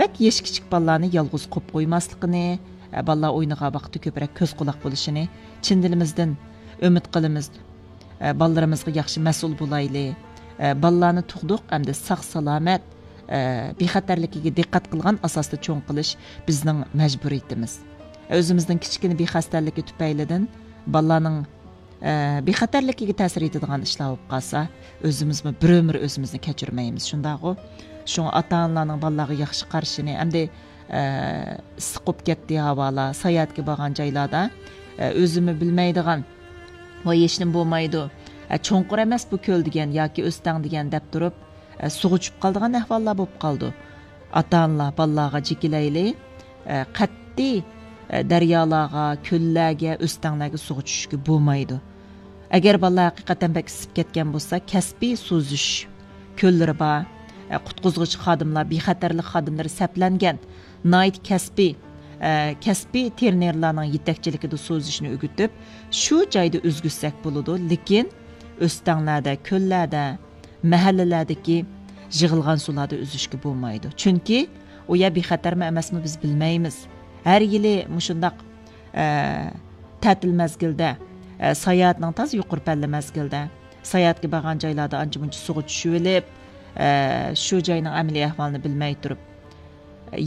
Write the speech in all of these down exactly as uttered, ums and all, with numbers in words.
بەك يېشى كىچىك بالىلارنى يالغۇز قويۇپ قويماسلىقىنى، ئە، بالىلار ئوينىغان ۋاقىتتا كۆپرەك كۆز قۇلاق بولۇشىنى چىن دىلىمىزدىن ئۈمىد قىلىمىز. ئە، بالىلىرىمىزغا ياخشى مەسئۇل بولايلى. ئە، بالىلارنى تۇغدۇق، ئەمدى ساق سالامەت، ئە، بىخەتەرلىكىگە دىققەت قىلغان ئاساستا چوڭ قىلىش بىزنىڭ مەجبۇرىيىتىمىز. ئۆزىمىزنىڭ كىچىككىنە بىخەستەلىكى تۈپەيلىدىن بالىلارنىڭ ئە، بىخەتەرلىكىگە تەسىر يېتىدىغان ئىشلار بولۇپ قالسا، ئۆزىمىزمۇ بىر ئۆمۈر ئۆزىمىزنى كەچۈرمەيمىز، شۇنداقغۇ؟ شۇڭا ئاتا-ئانىلارنىڭ بالىلارغا ياخشى قارىشىنى، ئەمدى، ئە، ئىسسىق بولۇپ كەتتى ھاۋالار، ساياھەتكە بارغان جايلاردا، ئە، ئۆزىمۇ بىلمەيدىغان، ۋاي، ھېچنېمە بولمايدۇ، ئە، چوڭقۇر ئەمەس بۇ كۆل دېگەن ياكى ئۆستەڭ دېگەن دەپ تۇرۇپ، ئە، سۇغا چۈشۈپ قالىدىغان ئەھۋاللار بولۇپ قالىدۇ. ئاتا-ئانىلار بالىلارغا جېكىلەيلى، ئە، قەتئىي، ئە، دەريالارغا، كۆللەرگە، ئۆستەڭلەرگە سۇغا چۈشۈشكە بولمايدۇ. ئەگەر بالىلار ھەقىقەتەن بەك ئىسسىپ كەتكەن بولسا، كەسپىي سۈزۈش كۆللىرى بار، ئە، قۇتقۇزغۇچى خادىملار، بىخەتەرلىك خادىملىرى سەپلەنگەن، ناھايىتى كەسپىي، ئە، كەسپىي ترېنېرلارنىڭ يېتەكچىلىكىدە سۈزۈشنى ئۆگىتىپ، شۇ جايدا ئۈزگۈزسەك بولىدۇ. لېكىن ئۆستەڭلەردە، كۆللەردە، مەھەللىلەردىكى يىغىلغان سۇلاردا ئۈزۈشكە بولمايدۇ. چۈنكى ئۇ يەر بىخەتەرمۇ ئەمەسمۇ بىز بىلمەيمىز. ھەر يىلى مۇشۇنداق، ئە، تەتىل مەزگىلدە، ئە، ساياھەتنىڭ تازا يۇقىرى پەللە مەزگىلدە، ساياھەتكە بارغان جايلاردا ئانچە-مۇنچە سۇغا چۈشۈۋېلىپ، ئە، شۇ جاينىڭ ئەمەلىي ئەھۋالىنى بىلمەي تۇرۇپ،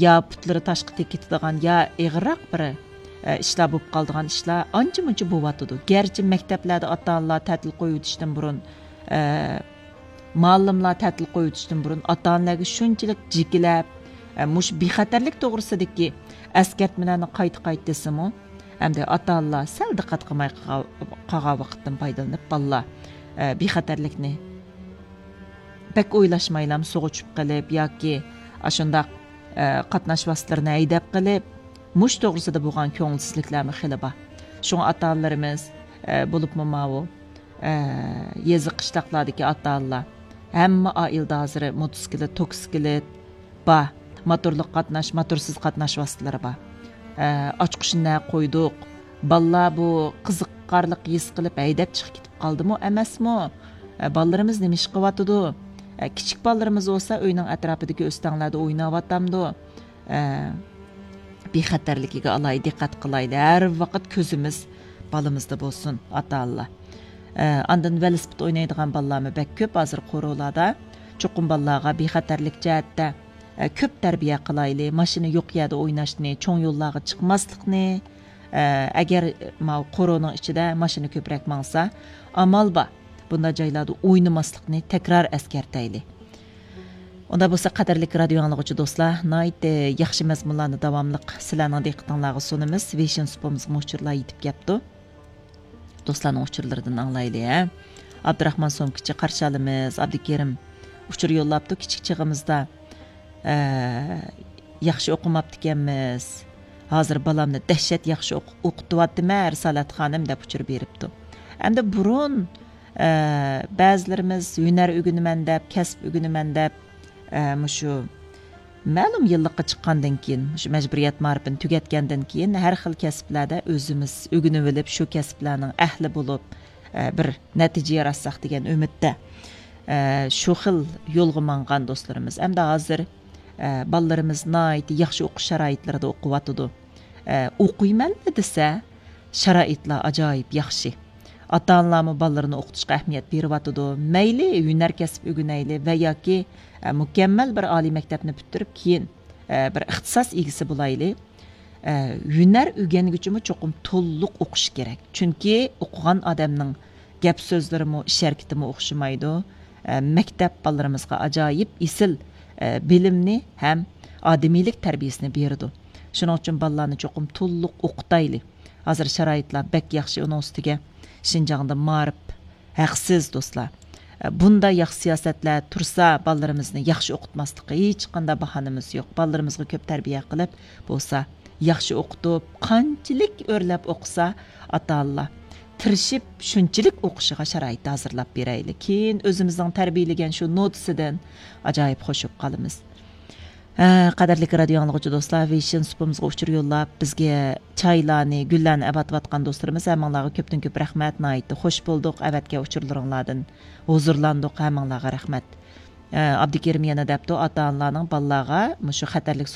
يا پۇتلىرى تاشقا تېگىپ كېتىدىغان، يا ئېغىرراق بىر، ئە، ئىشلار بولۇپ قالىدىغان ئىشلار ئانچە-مۇنچە بولۇۋاتىدۇ. گەرچە مەكتەپلەردە ئاتا-ئانىلار تەتىل قويۇۋېتىشتىن بۇرۇن، ئە، مۇئەللىملار تەتىل قويۇۋېتىشتىن بۇرۇن ئاتا-ئانىلارغا شۇنچىلىك جېكىلەپ، ئە، مۇشۇ بىخەتەرلىك توغرىسىدىكى ئەسكەرتمىلەرنى قايتا-قايتا دېسىمۇ، ئەمدى ئاتا-ئانىلار سەل دىققەت قىلماي قالغان، قالغان ۋاقىتتىن پايدىلىنىپ، بالىلار، ئە، بىخەتەرلىكنى بەك ئويلاشمايلا سۇغا چۈشۈپ قېلىپ ياكى ئاشۇنداق، ئە، قاتناش ۋاسىتىلىرىنى ھەيدەپ قېلىپ، مۇشۇ توغرىسىدا بولغان كۆڭۈلسىزلىكلەرمۇ خېلى بار. شۇڭا ئاتا-ئانىلىرىمىز، ئە، بولۇپمۇ ماۋۇ، ئە، يېزا قىشلاقلاردىكى ئاتا-ئانىلار، ھەممە ئائىلىدە ھازىر موتوسىكلىت، توكسىكلىت، بار. موتورلۇق قاتناش، موتورسىز قاتناش ۋاسىتىلىرى بار. ئە، ئاچقۇچنى نەگە قويدۇق؟ بالىلار بۇ قىزىقارلىق ھېس قىلىپ ھەيدەپ چىقىپ كېتىپ قالدىمۇ، ئەمەسمۇ؟ ئە، بالىلىرىمىز نېمە ئىش قىلىۋاتىدۇ؟ ئە، كىچىك بالىلىرىمىز بولسا ئۆينىڭ ئەتراپىدىكى ئۆستەڭلەردە ئويناۋاتامدۇ؟ ئە، بىخەتەرلىكىگە ئالاھىدە دىققەت قىلايلى. ھەر ۋاقىت كۆزىمىز بالىمىزدا بولسۇن، ئاتا-ئانىلار. ئە، ئاندىن ۋېلىسىپىت ئوينايدىغان بالىلارمۇ بەك كۆپ ھازىر قورۇلاردا. چوقۇم بالىلارغا بىخەتەرلىك جەھەتتە، ئە، كۆپ تەربىيە قىلايلى. ماشىنا يوق يەردە ئويناشنى، چوڭ يوللارغا چىقماسلىقنى، ئە، ئەگەر ماۋۇ قورۇنىڭ ئىچىدە ماشىنا كۆپرەك ماڭسا، ئامال بار، بۇنداق جايلاردا ئوينىماسلىقنى تەكرار ئەسكەرتەيلى. ئۇنداق بولسا، قەدىرلىك رادىيو ئاڭلىغۇچى دوستلار، ناھايىتى ياخشى مەزمۇنلارنى داۋاملىق سىلەرنىڭ دىققىتىڭلارغا سۇنىمىز. ۋېيشىن سۇپىمىزغىمۇ ئۇچۇرلار يېتىپ كەپتۇ. دوستلارنىڭ ئۇچۇرلىرىدىن ئاڭلايلى، ھە. ئابدۇراخمان سومكىچى، قارشى ئالىمىز. ئابدۇكېرىم ئۇچۇر يوللاپتۇ، كىچىك چېغىمىزدا، ئە، ياخشى ئوقۇماپتىكەنمىز. ھازىر بالامنى دەھشەت ياخشى ئوق-، ئوقۇتۇۋاتىمەن، رىسالەت خانىم، دەپ ئۇچۇر بېرىپتۇ. ئەمدى بۇرۇن، ئە، بەزىلىرىمىز ھۈنەر ئۆگىنىمەن دەپ، كەسىپ ئۆگىنىمەن دەپ، ئە، مۇشۇ مەلۇم يىللىققا چىققاندىن كېيىن، مۇشۇ مەجبۇرىيەت مائارىپىنى تۈگەتكەندىن كېيىن، ھەر خىل كەسىپلەردە ئۆزىمىز ئۆگىنىۋېلىپ، شۇ كەسىپلەرنىڭ ئەھلى بولۇپ، ئە، بىر نەتىجە ياراتساق دېگەن ئۈمىدتە، ئە، شۇ خىل يولغا ماڭغان دوستلىرىمىز. ئەمدى ھازىر، ئە، بالىلىرىمىز ناھايىتى ياخشى ئوقۇش شارائىتلىرىدا ئوقۇۋاتىدۇ. ئە، ئوقۇيمەنلا دېسە، شارائىتلار ئاجايىپ ياخشى. ئاتا-ئانىلارمۇ بالىلىرىنى ئوقۇتۇشقا ئەھمىيەت بېرىۋاتىدۇ. مەيلى ھۈنەر كەسىپ ئۆگىنەيلى ۋە ياكى، ئە، مۇكەممەل بىر ئالىي مەكتەپنى پۈتتۈرۈپ، كېيىن، ئە، بىر ئىختىساس ئىگىسى بولايلى. ئە، ھۈنەر ئۆگەنگۈچىمۇ چوقۇم تولۇق ئوقۇشى كېرەك. چۈنكى ئوقۇغان ئادەمنىڭ گەپ سۆزلىرىمۇ، ئىش ھەرىكىتىمۇ ئوخشىمايدۇ. ئە، مەكتەپ بالىلىرىمىزغا ئاجايىپ ئېسىل، ئە، بىلىمنى ھەم ئادىمىيلىك تەربىيەسىنى بېرىدۇ. شۇنىڭ ئۈچۈن بالىلارنى چوقۇم تولۇق ئوقۇتايلى. ھازىر شارائىتلار بەك ياخشى، ئۇنىڭ ئۈستىگە شىنجاڭدا مائارىپ ھەقسىز، دوستلار. بۇنداق ياخشى سىياسەتلەر تۇرسا، بالىلىرىمىزنى ياخشى ئوقۇتماسلىققا ھېچقانداق باھانىمىز يوق. بالىلىرىمىزغا كۆپ تەربىيە قىلىپ، بولسا ياخشى ئوقۇتۇپ، قانچىلىك ئۆرلەپ ئوقۇسا، ئاتا-ئانىلار تىرىشىپ، شۇنچىلىك ئوقۇشىغا شارائىت ھازىرلاپ بېرەيلى. كېيىن ئۆزىمىزنىڭ تەربىيەلىگەن شۇ نوتىسىدىن ئاجايىپ خوش بولۇپ قالىمىز. ھە، قەدىرلىك رادىيو ئاڭلىغۇچى دوستلار، ۋېيشىن سۇپىمىزغا ئۇچۇر يوللاپ، بىزگە چايلارنى، گۈللەرنى ئەۋەتىۋاتقان دوستلىرىمىز، ھەممىڭلارغا كۆپتىن كۆپ رەھمەت، ناھايىتى خوش بولدۇق، ئەۋەتكەن ئۇچۇرلىرىڭلاردىن ھۇزۇرلاندۇق، ھەممىڭلارغا رەھمەت. ئە، ئابدۇكېرىم يەنە دەپتۇ، ئاتا-ئانىلارنىڭ بالىلارغا مۇشۇ خەتەرلىك